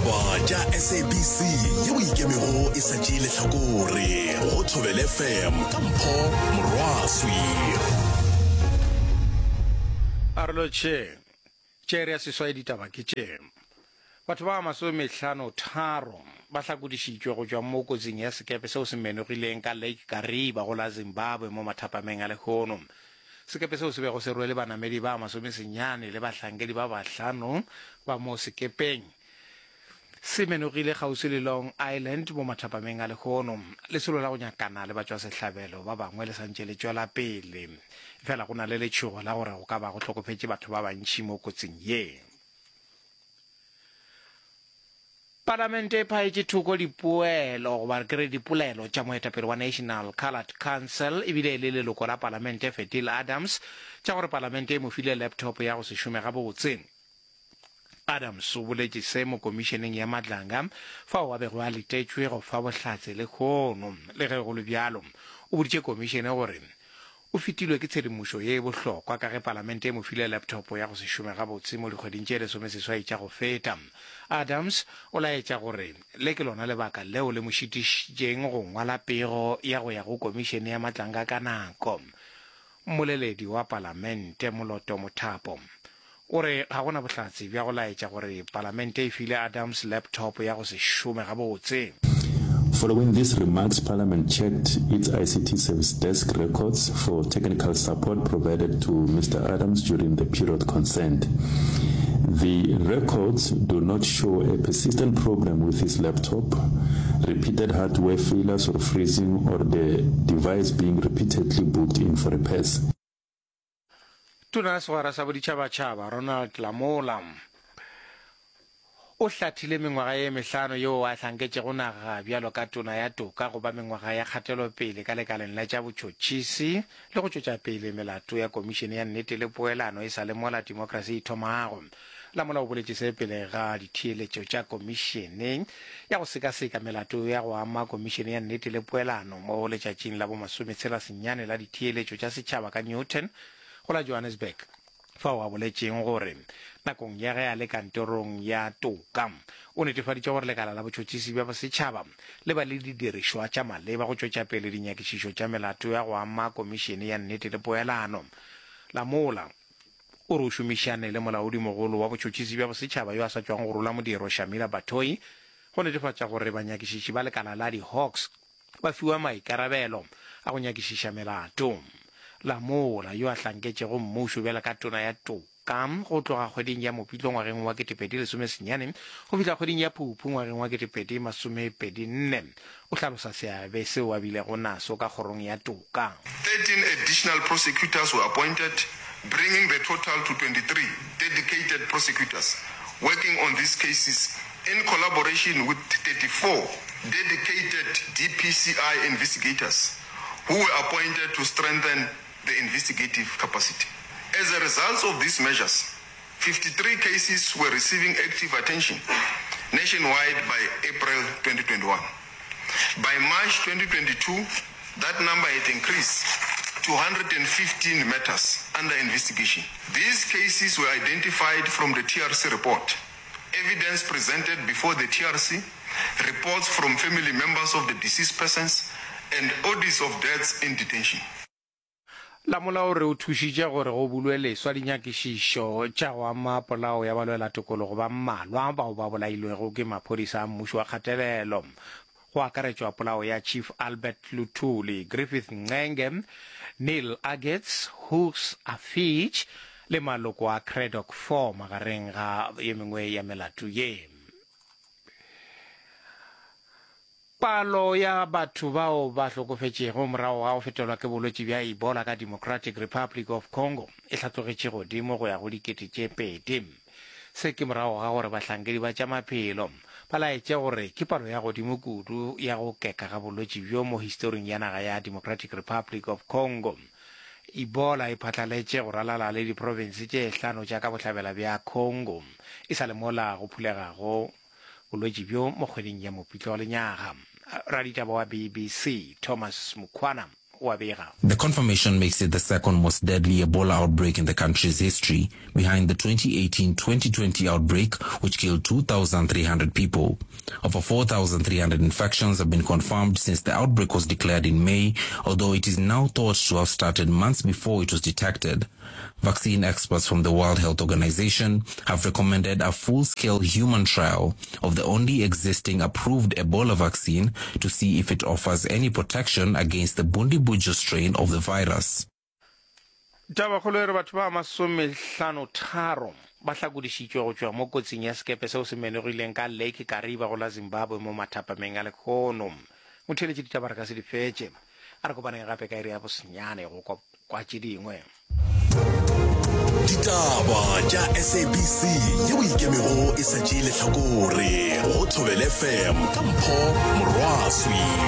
Ditaba tša SABC yeo ikemego e sa tšee lehlakore go Thobela FM ka Mpho Morwaswi. A re lotšheng. Tše re ya seswai ditaba ke tše. Batho ba masomehlano tharo ba hlakodišitšwe go tšwa mo kotsing ya sekepe seo se menogileng ka Lake Kariba go la Zimbabwe mo mathapameng a lehono. Sekepe seo se bego se rwele banamedi ba masomesenyane le bahlankedi ba bahlano ba mo sekepeng se menogile kgauswi le Long Island mo mathapameng a lehono. Lesolo la go nyakana le batšwasehlabelo ba bangwe le santše le tšwela pele, efela go na le letšhogo la gore go ka ba go hlokofetše batho ba bantši mo kotsing ye. Palamente e phaetše thoko dipoelo goba ke re dipolelo tša moetapele wa National Coloured Council ebile e le leloko la palamente Fadil Adams tša gore palamente e mo file laptop ya go se šome gabotse. Adams o boletše se mo komišeneng ya Madlanga fao a bego a letetšwe go fa bohlatse lehono. Le ge go le bjalo, o boditše komišene gore O fetilwe ke tshedimošo ye bohlokwa ka ge Palamente e mo file laptop ya go se šome gabotse mo dikgweding tše lesomeseswai tša go feta. Adams o laetša gore le ke lona lebaka leo le mo šitišitšeng go ngwala pego ya go ya go Komišene ya Matlanka ka nako. Mmoleledi wa Palamente, Moloto Mothapo, O re ga go na bohlatse bja go laetša gore Palamente e file Adams laptop ya go se šome gabotse. Following these remarks, Parliament checked its ICT Service Desk records for technical support provided to Mister Adams during the period concerned. The records do not show a persistent problem with his laptop, repeated hardware failures or freezing, or the device being repeatedly booked in for repairs. Tona ya Segwera sa Boditšhabatšhaba Ronald Lamola o hlathile mengwaga ye mehlano yeo a hlanketšego naga bjalo ka Tona ya Toka go ba mengwaga ya kgatelopele ka lekaleng la tša botšhotšhisi le go tšwetša pele melato ya Komišene ya Nnete le Poelano e sa le mola temokrasi e thomago. Lamola o boletše se pele ga ditheeletšo tša komišene ya go sekaseka melato ya go ama Komišene ya Nnete le Poelano mo letšatšing la bomasometshela senyane la ditheeletšo tša setšhaba ka Newton go la Johannesburg, fao a boletšeng gore nakong ya ge a le kantorong ya toka o netefaditše gore lekala la botšhotšhisi bja bosetšhaba le ba le didirišwa tša maleba go tšwetša pele dinyakišišo tša melato ya go ama Komišene ya Nnete le Poelano. Lamola. O re o šomišane le molaodimogolo wa botšhotšhisi bja bosetšhaba yo a sa tšwago go rola modiro, Shamila Batohi, go netefatša gore banyakišiši ba lekala la di-Hawks ba fiwa maikarabelo a go nyakišiša melato. Lamola, yo a hlanketšego mmušo bjalo ka tona ya toka go tloga kgweding ya Mopitlo ngwageng wa 2019 go fihla kgweding ya Phuphu ngwageng wa 2024, O hlalosa seabe seo a bilego naso ka kgorong ya toka. 13 additional prosecutors were appointed, bringing the total to 23 dedicated prosecutors working on these cases in collaboration with 34 dedicated DPCI investigators who were appointed to strengthen the investigative capacity. As a result of these measures, 53 cases were receiving active attention nationwide by April 2021. By March 2022, that number had increased to 115 matters under investigation. These cases were identified from the TRC report, evidence presented before the TRC, reports from family members of the deceased persons, and audits of deaths in detention. Lamola o re o thušitše gore go bulwe leswa dinyakišišo tša go ama polao ya balwelatokologo ba mmalwa bao ba bolailwego ke maphodisa a mmušo wa kgatelelo, go akaretšwa polao ya Chief Albert Luthuli, Griffith Ncenge, Neil Aggett, Hughes Afich le maloko a Cradock Four magareng ga ye mengwe ya melato ye. Palo ya batho bao ba hlokofetšego morago ga go fetelwa ke bolwetši bja Ebola ka Democratic Republic of Congo e hlatlogetše godimo go ya go 2000. Se ke morago ga gore bahlankedi ba tša maphelo ba laetše gore ke palo ya godimo kudu ya go keka ga bolwetši bjo mo historing ya naga ya Democratic Republic of Congo. Ebola e phatlaletše go ralala le diprofense tše hlano tša ka bohlabela bja Congo e sa le mola go phulegago bolwetši bjo mo kgweding ya Mopitlo wa lenyaga. Raditaba wa BBC Thomas Mukwana o a bega. The confirmation makes it the second most deadly Ebola outbreak in the country's history, behind the 2018-2020 outbreak, which killed 2,300 people. Over 4,300 infections have been confirmed since the outbreak was declared in May, although it is now thought to have started months before it was detected. Vaccine experts from the World Health Organization have recommended a full-scale human trial of the only existing approved Ebola vaccine to see if it offers any protection against the Bundibugyo strain of the virus. Tabakgolo e re batho ba masomehlanotharo ba hlakodišitšwe go tšwa mo kotsing ya sekepe seo se menogileng ka Lake Kariba go la Zimbabwe mo mathapameng a lekhono. Motheeletši ditaba re ka se di fetše. A re kopaneng gape ka iri ya bosenyane go kwa kwa tše dingwe. Ditaba tša SABC yeo ikemego e sa tšee lehlakore go Thobela FM ka Mpho Morwaswi.